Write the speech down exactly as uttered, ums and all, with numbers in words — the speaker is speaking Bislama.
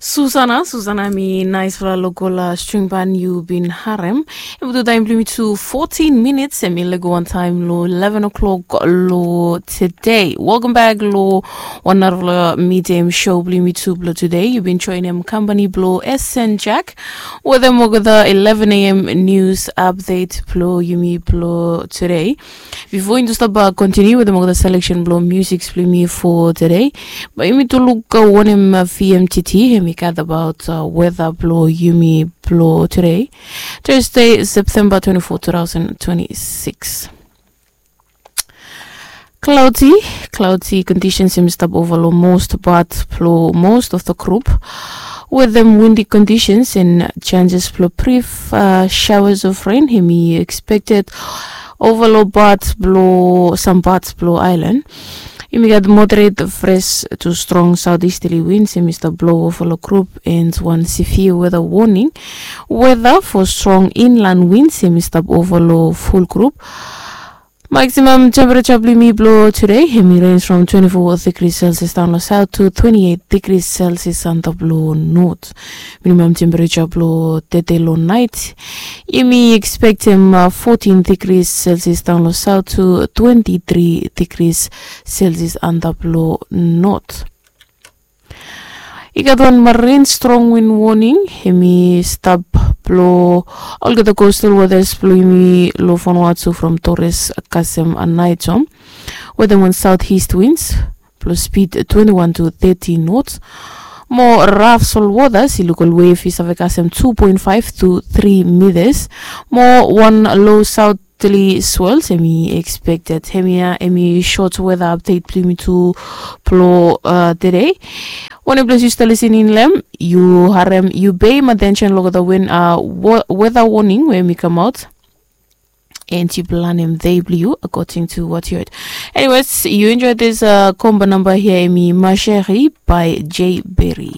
Susana, Susana mi naisfala lokol string ban yu bin harem. Em tu taim bilong mi tu fourteen minutes em i lego wantaim lo eleven o'clock lo today. Welcome back lo wan narafala midem show bilong mi tu bilong today. Yu bin joinim company bilong S N Jack. Wetem olgeta eleven a.m. news update bilong yumi bilong today. Before yumi tu stap kontiniu wetem olgeta selection bilong music bilong yumi for today, bai yumi tu luk wanem VMTT em i gat about weather bilong yumi bilong today, Thursday, September twenty-four, two thousand twenty-six. Cloudy, cloudy conditions em i stap ova long most part bilong most of the group. Wetem windy conditions and chances bilong brief uh, showers of rain em i expected ova long part bilong some parts bilong island. Yumi gat moderate fresh to strong southeasterly winds em i stap blow ova long group and wan severe weather warning. Weather for strong inland winds em i stap ova long full group. Maximum temperature bilong yumi bilong today em i range from twenty-four degrees Celsius down long south to twenty-eight degrees Celsius antap long north. Minimum temperature bilong today long night em i expectem uh, fourteen degrees Celsius down long south to twenty-three degrees Celsius antap long north. I gat wan marine strong wind warning em i stap bilong olgeta coastal waters bilong yumi long Vanuatu from Torres kasem Aneityum, wetem wan southeast winds bilong speed twenty-one to thirty knots. Mo rough sol waters i luk ol wave i save kasem two point five to three meters. Mo wan low south three swells em i expected. Hemia em i short weather update bilong yumi tu bilong uh, today. Wanem ples yu stap listening long em, yu harem, yu peim attention long the win uh, weather warning we em i come out. And yu planem day bilong yu according to what you heard. Anyways, you enjoy this uh, combo number here em i Masheri by J Berry.